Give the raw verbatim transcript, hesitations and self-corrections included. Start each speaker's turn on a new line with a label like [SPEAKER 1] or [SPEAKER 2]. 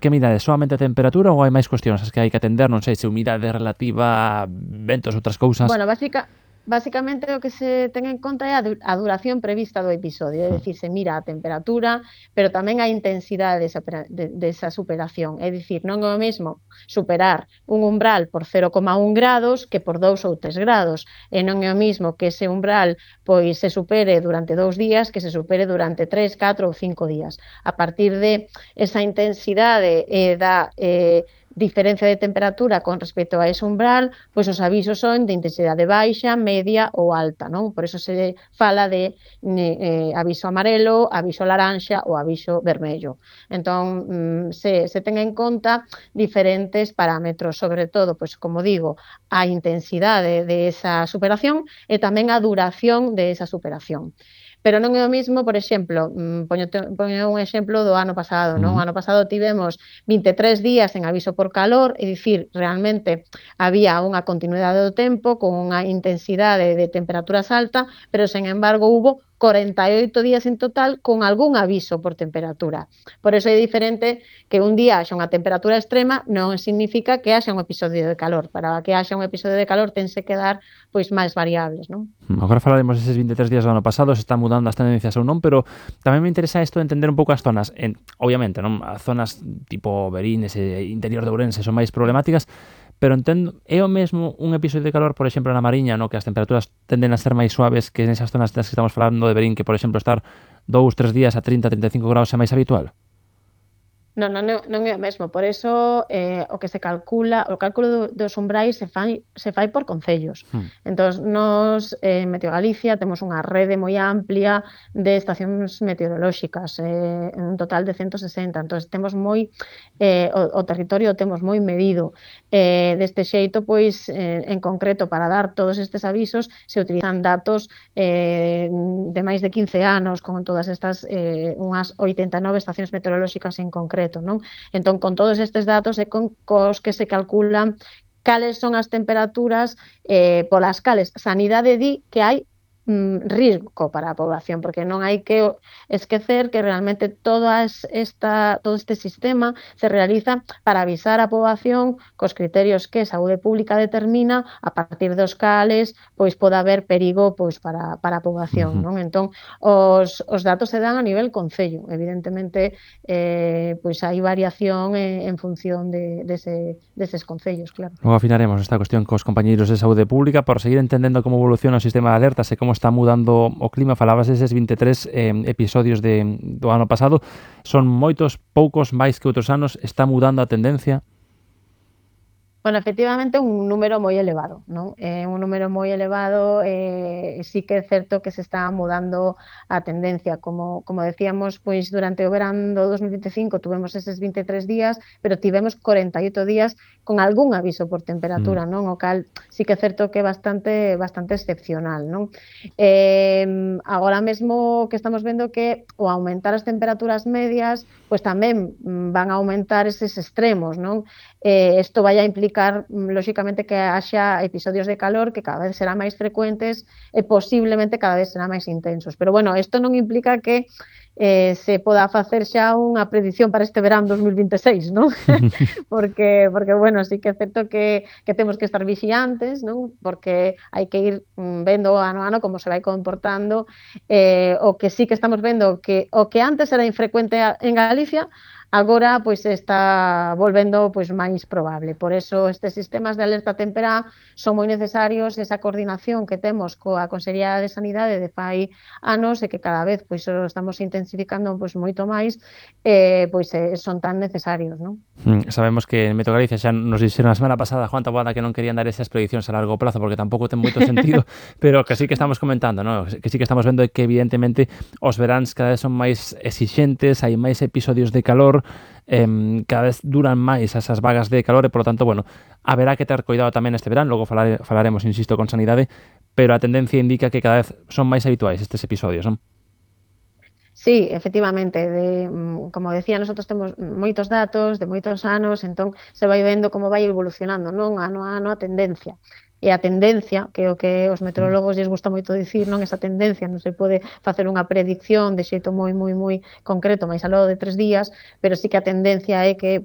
[SPEAKER 1] que midade? Soamente a temperatura ou hai máis cuestións as que hai que atender? Non sei, se humidade relativa, ventos, outras cousas.
[SPEAKER 2] Bueno, básica, básicamente o que se ten en conta é a, du a duración prevista do episodio, é
[SPEAKER 1] Hmm.
[SPEAKER 2] dicir, se mira a temperatura, pero tamén a intensidade desa, de, desa superación, é dicir, non é o mesmo superar un umbral por cero coma un grados que por dous ou tres grados, e non é o mesmo que ese umbral pois se supere durante dous días que se supere durante tres, catro ou cinco días. A partir de esa intensidade e eh, da eh, diferencia de temperatura con respecto a ese umbral, pois os avisos son de intensidade baixa, media ou alta, non? Por eso se fala de eh, aviso amarelo, aviso laranxa ou aviso vermello. Entón, se, se ten en conta diferentes parámetros, sobre todo, pois como digo, a intensidade de esa superación e tamén a duración de esa superación. Pero non é o mismo, por exemplo, poño, poño un exemplo do ano pasado, non? O ano pasado tivemos vinte e tres días en aviso por calor, é dicir, realmente había unha continuidade do tempo con unha intensidade de temperaturas alta, pero, sen embargo, hubo corenta e oito días en total con algún aviso por temperatura. Por eso é diferente que un día haxa unha temperatura extrema, non significa que haxa un episodio de calor. Para que haxa un episodio de calor tense que dar pois máis variables, non?
[SPEAKER 1] Agora falaremos deses vinte e tres días do ano pasado, se están mudando as tendencias ou non, pero tamén me interesa isto de entender un pouco as zonas. En, obviamente, non, as zonas tipo Verín, ese interior de Ourense son máis problemáticas, pero entendo, é o mesmo un episodio de calor, por exemplo, na Mariña, no que as temperaturas tenden a ser máis suaves que nesas zonas das que estamos falando de Verín, que, por exemplo, estar dous, tres días a trinta, trinta e cinco graus é máis habitual?
[SPEAKER 2] Non, non, non é o mesmo, por eso eh, o que se calcula, o cálculo do, dos umbrais se fai, se fai por concellos. Hmm. Entón, nos eh, en Meteo Galicia temos unha rede moi amplia de estacións meteorolóxicas, eh, un total de ciento sesenta, entón temos moi, eh, o, o territorio temos moi medido. Eh, deste xeito, pois, eh, en concreto, para dar todos estes avisos, se utilizan datos eh, de máis de quince anos, con todas estas, eh, unhas oitenta e nove estacións meteorolóxicas en concreto. Non? Entón, con todos estes datos é con cos que se calculan cales son as temperaturas eh, polas cales Sanidade di que hai mm, risco para a población, porque non hai que esquecer que realmente todas esta, todo este sistema se realiza para avisar a poboación cos criterios que Saúde Pública determina, a partir dos cales pois pode haber perigo pois para, para a poboación. Uh-huh. Non? Entón, os, os datos se dan a nivel concello, evidentemente eh, pois hai variación en, en función de, de ese, deses concellos, claro.
[SPEAKER 1] Logo afinaremos esta cuestión cos compañeiros de Saúde Pública por seguir entendendo como evoluciona o sistema de alertas e como está mudando o clima. Falabas deses vinte e tres eh, episodios de, do ano pasado. Son moitos, poucos, máis que outros anos. Está mudando a tendencia?
[SPEAKER 2] Bueno, efectivamente, un número moi elevado, non? É un número moi elevado, eh, sí que é certo que se está mudando a tendencia. Como, como decíamos, pois durante o verán do dos mil vinte e cinco tuvemos eses vinte e tres días, pero tivemos corenta e oito días con algún aviso por temperatura, mm. non? O cal sí que é certo que é bastante, bastante excepcional, non? Eh, agora mesmo que estamos vendo que o aumentar as temperaturas medias, pois tamén van a aumentar eses extremos, non? Eh, isto vai a implicar, lóxicamente, que haxa episodios de calor que cada vez serán máis frecuentes e posiblemente cada vez serán máis intensos. Pero, bueno, isto non implica que eh, se poda facer xa unha predición para este verán dos mil vinte e seis, non? porque, porque, bueno, sí que é certo que, que temos que estar vixiantes, non? Porque hai que ir vendo ano a ano como se vai comportando. Eh, o que sí que estamos vendo que o que antes era infrecuente en Galicia, agora pois está volvendo pois máis probable. Por eso estes sistemas de alerta temperá son moi necesarios, esa coordinación que temos coa Consellería de Sanidade de fai anos e que cada vez pois o estamos intensificando pois moito máis, eh, pois eh, son tan necesarios, non?
[SPEAKER 1] Mm, sabemos que en Meteo Galicia xa nos dixeron a semana pasada, Juan Taboada, que non querían dar esas predicións a largo plazo porque tampouco ten moito sentido, pero que sí que estamos comentando, ¿no? Que sí que estamos vendo que evidentemente os veráns cada vez son máis exixentes, hai máis episodios de calor, eh, cada vez duran máis esas vagas de calor e, por lo tanto, bueno, haberá que ter cuidado tamén este verán, logo falare, falaremos, insisto, con Sanidade, pero a tendencia indica que cada vez son máis habituais estes episodios, non?
[SPEAKER 2] Sí, efectivamente, de, como decía, nosotros temos moitos datos de moitos anos, entón se vai vendo como vai evolucionando, non? Ano a ano a tendencia. E a tendencia, que é o que os meteorólogos lles gusta moito dicir, non? Esa tendencia non se pode facer unha predicción de xeito moi, moi, moi concreto, máis aló de tres días, pero sí que a tendencia é que